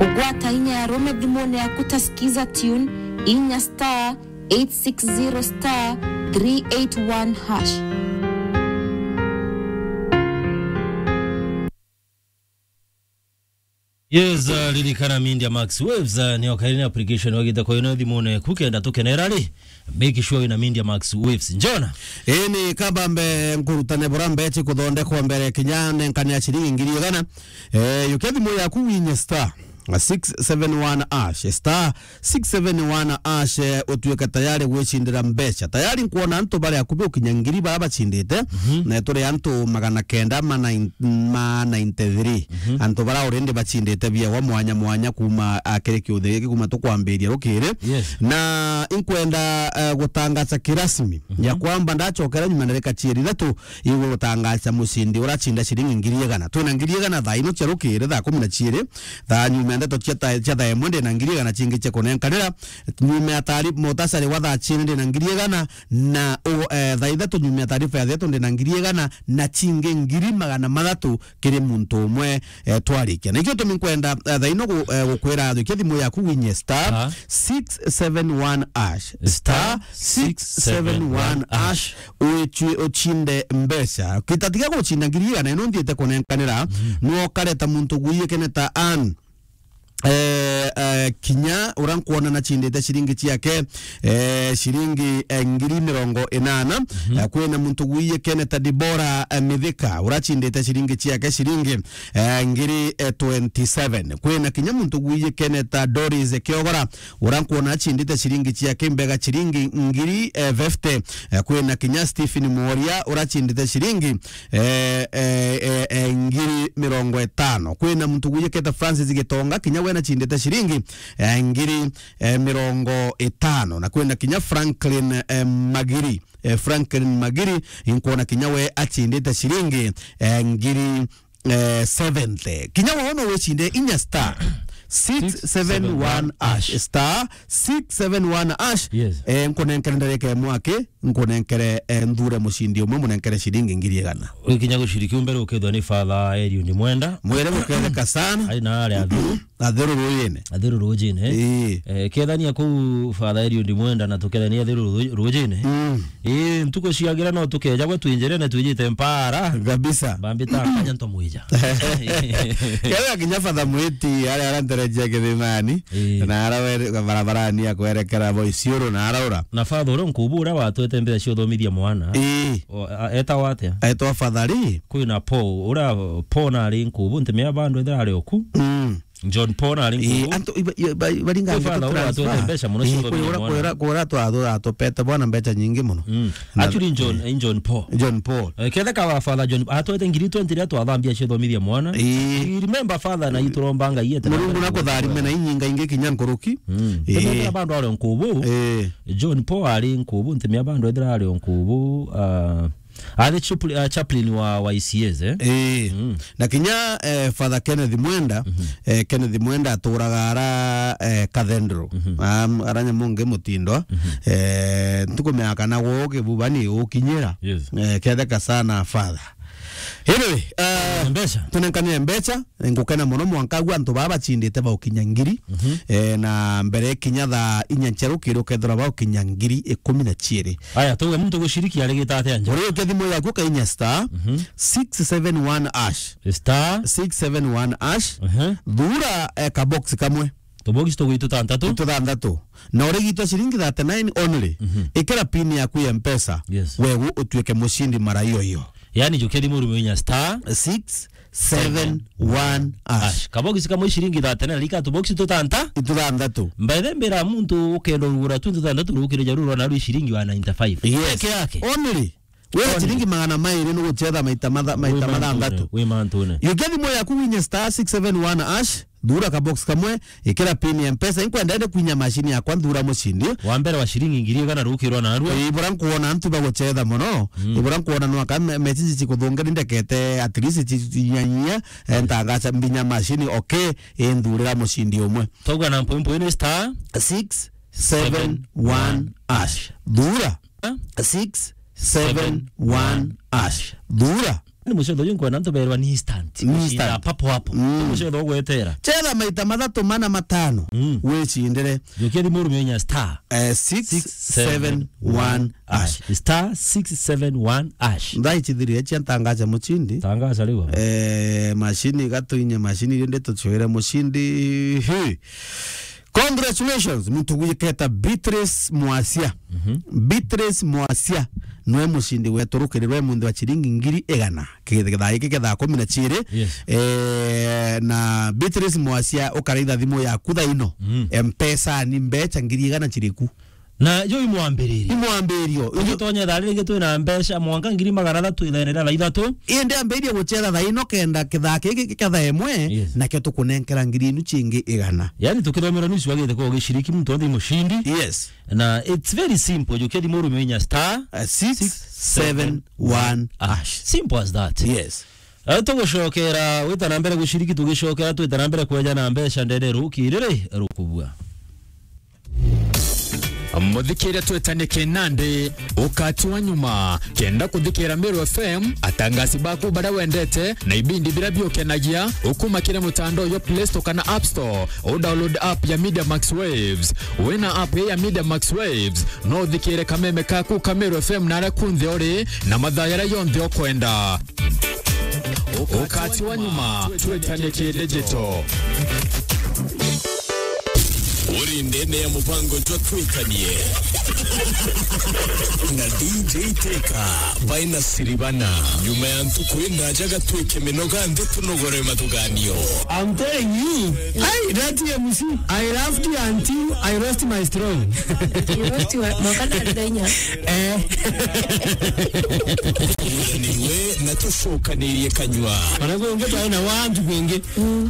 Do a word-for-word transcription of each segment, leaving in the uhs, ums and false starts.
Ugwata inya ya rume thimune yaku ta Skiza Tune, inya star eight six zero star three eight one hash. Yes, uh, ririkana Media Max Waves, uh, ni okaini application wagite kwa ino thimune ku kenda tukenera ri, make sure wina Media Max Waves. Njona? Ii ni kabambe nkurutane bura mbechi kuthondekwa mbere kinya nenkane ya ciringi ngiri igana. Eh, yukia thimu yaku winye star six seven one hash, star six seven one hash, eh, utuike tayari gwicindira mbeca. Tayari nkwona antu bari akubi ukinya ngiri bara bacindite, mhm, na turi antu magana kenda ma nine, ma ninety three. Mhm. Antu bara already bacindite biawa mwanya mwanya kuma, ah, kiri kiuthi giki kuma tukwambiria rukiri. Yes. Na inkwenda, eh, gutangaza kirasmi, mhm, ya kwamba ndachokera nyuma ndarika cieri ithatu, igwe gutangaza mucindi uracinda ciringi ngiri igana. Twina ngiri igana thaa ino cia rukiri, thaa kumi na cieri, thaa nyuma ya ndeto cia ta-, cia thaa imwe ndina ngiri igana cingi cia kunenkanira. Nyuma ya taari-, mutasari wa thaa cieri ndina ngiri igana, na u-, eh, thaa ithatu nyuma ya taarifa ya thaa ithatu ndina ngiri igana, na cingi ngiri magana mathatu kiri muntu umwe, eh, twarikia. Nikio tumi nkwenda, eh, thaa ino gu-, eh, gukwira thukia thimu yaku winye star, aha, six seven one hash. Star six seven one hash. Star six seven one hash. Uicwi-, uchinde mbeca. Kitatiga gucinda ngiri igana ino nthiite kunenkanira, mm, no kareta muntu gwiyikene ta Ann. Eh, eh, kinya ura nkwona na cindite ciringi ciake, eh, ciringi, eh, ngiri mirongo inana. Mhm. Eh, kwina muntu gwiyikene ta Dibora, eh, Mithika, ura cindite ciringi ciake ciringi, eh, ngiri, eh, twenty seven. Kwina kinya muntu gwiyikene ta Doris Kiogora, ura nkwona acindite ciringi ciake mbega ciringi ngiri, eh, fifty. Eh, kwina kinya Stephen Mworia, ura cindite ciringi, eh, eh, eh, eh, ngiri mirongo itano. Kwina muntu gwiyikete Francis Gitonga, kinya we nacindite ciringi, eh, ngiri, eh, mirongo itano. Na kwina kinya Franklin, eh, Magiri. Eh, Franklin Magiri, inkwona kinya we acindite ciringi, eh, ngiri, eh, seventy. Kinya we no wicinde inya star six seven one hash. Star six seven one hash. Yes. Eh, nkunenkere ndarika imwe aki, nkunenkere, eh, nthure mucindi umwe, munenkere ciringi ngiri igana. Wikinya guciriki umbere ukethwa ni Father Eliud Mwenda. Mwere guketheka sana. Ai na ari athu. Athiru rujine. Athiru rujine, eh? Ii. Eh, kethania kuu Father Eliud Mwenda na tukethania athiru ru-, rujine. Mm. Ii, ntuku ciagira no tukeja gwe twinjire na twijite mpara. Kabisa. Bambita kanya ntomwija. Kethira kinya Father Mwiti, aria aranterejia Kithimani, ii, na ara were-, barabarani ya kwerekera Boisiuru na araura. Na Father uria nkubu uria watwete mbeca cia uthomithia mwana. Ii. O, a-, etagwa atia? Etwa Father Lee. Kwina Paul, uria Paul nari nkubu, ntimea bandu ethira ari oku. Mm. John Paul ari nkubu. Antu iba-, iba-, iba-, baringa. Kwi Father uria atwete mbeca muno cia uthomithia mwana. Kwira, kwira twathura atupete bwana mbeca nyingi muno. Mm. Na actually, John, eh, John Paul. John Paul. Eh, kethe ka wa Father John, atwete ngiri twenty ria twathambia cia uthomithia mwana. Ii. I remember Father na ituromba Ngai ete Murungu na kutharime na inyinga ingi kinya nkuruki. Mm. Ii. Tumethira bandu ari nkubu. Ii. John Paul ari nkubu, ntimia bandu ethira ari nkubu, ah, Ari chupli-, ah, chaplain wa, wa I C As, eh? Eh. Mm. Na kinya, eh, Father Kenneth Mwenda, mhm, eh, Kenneth Mwenda aturaga ara, eh, Cathedral. Mhm. Am-, ara Nyamonge Mutindwa. Mhm. Eh, ntukumenya kana gwo Kibuba ni ukinyira. Yes. Eh, ketheka sana Father. Anyway, eh, mbeca. Tunenkanire mbeca. Ngukena mono mwanka agu antu baa bacindite baukinya ngiri, mhm, eh, na mbere kinya thaa inya cia rukiri ukethirwa baukinya ngiri ikumi na ciiri. Aya, tuge muntu guciriki arigita atia nja? Uriukia thimu yaku ukainya star, mhm, six seven one hash. Star six seven one hash. Mhm. Thura, eh, kabox kamwe. Tubox tugwi tutantatu. Tutantatu. Na urigitwa ciringi thirty-nine only. Mhm. Ikira pin yaku ya Mpesa. Yes. Wewe utuike mucindi mara iyo iyo. Yani, jukia thimu ruminya star six seven one hash. Kabox kamwe ciringi thirty-nine, rika tubox tutanta? Ituthanthatu. Mbaithe mbira muntu ukenda urugura tu tuthanthatu rukire jaru rwa naru ciringi wa ninety-five. Yes. Peke yake. Only. Wira only ciringi magana mairi ni guchetha maita matha-, maita mathanthatu. Wi mantune. Yukia thimu yaku winye star six seven one hash, thura kabox kamwe, ikira pin ya Mpesa, inkwenda ende kwinya mashini yakwa nthura mucindi. Wa mbere wa ciringi ngiri igana rukirwa narua. Ii, bura nkuona antu baguchetha mono. Mm. Ii, bura nkuona nwaka me-, message cikuthungeni ndekete at least ci-, cinyanyia, eh, ntagaca mbinya mashini, okay, inthurira mucindi umwe. Tauga na mpwempwe ni star six seven one hash. Thura. Six seven one hash. Thura. Ni mucetho uyu nkwenda antu berwa ni instant. Ni instant. Papo hapo. Mm. Ni mucetho ugwetera. Cetha maita mathatu, mana, matano. Mm. Wicindire. Jukia thimu urume inya star, eh, six seven one hash. Star six seven one hash. Ndai chithirire chia ntangaza muchindi. Tangaza riu. Eh, mashini igatu inye mashini iria nditucwire muchindi. Hi. Congratulations, muntu gwiketa Beatrice Mwasia. Mhm. Beatrice Mwasia nwe mucindi wetu rukirirwe munthi wa chiringi ngiri igana. Kithaa giki kithaa kumi na chiiri. Yes. Eh, na Beatrice Mwasia, ukaraitha thimu yaku thaa ino. Mm. Mpesa ni mbecha ngiri igana chiriku. Na yo imwambiririo. Imwambirio. Tugitonye thaa riri twina mbecha mwanka ngiri magana athatu ithaene ria thaa ithatu. Indi ambiririe guchetha thaa ino kenda kithaa giki kia thaa imwe, yes, nakio tukunenkera ngiri inu chingi igana. Yani tukithomerwa nusu wagite kwa ugiciriki muntu wonthe mushindi. Yes. Na it's very simple. Jukia thimu urume inya star, uh, six seven one hash. Simple as that. Yes. Eh, tugucokera wita na mbere guciriki, tugicokera twita na mbere kweja na mbecha ndene rukiriri rukubua. Muthikiria twetanie kinandi, ukati wa nyuma. Kenda kuthikira Meru F M, atangasi baku baria wendete, na ibindi biria biukenagia, ukuma kiri mutandao yo Play Store kana App Store, u download app ya Media Max Waves. Wina app ya Media Max Waves, no uthikire kameme kaku ka Meru F M na aria kunthe uri, na mathaa yaria yonthe ukwenda. Ukati wa nyuma, twetanie ki digital. Uri ndene ya mubango jwa twikanie na D J Teka baina siribana. Nyuma ya ntuku indaja gatwike minoga nthi tunogore mathuganio. I'm telling you, hey, that M C, I laughed until I lost my strong. You lost your, mwaka na ndainya. Eh. Niwe na tucokanirie kanyua. Wanakuongea na watu wengi.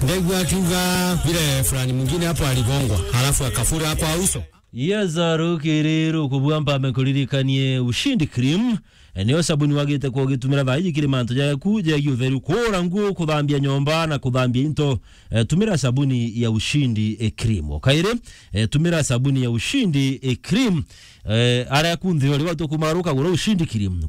Ndegwa akiuga vile fulani mwingine hapo aligongwa, halafu akafura kwa uso. Yes, rukiri rukubua mpame kuririkanie Ushindi Cream. Eh, nio sabuni wagite kwa ugitumira thaa iji kiri mantu jaku jegie utheru, kuura nguo, kuthambia nyomba na kuthambia into. Eh, tumira sabuni ya Ushindi, eh, Cream. O kairi, eh, tumira sabuni ya Ushindi, eh, Cream. Eh, aria kunthi uri watu kumaruka gura Ushindi Cream.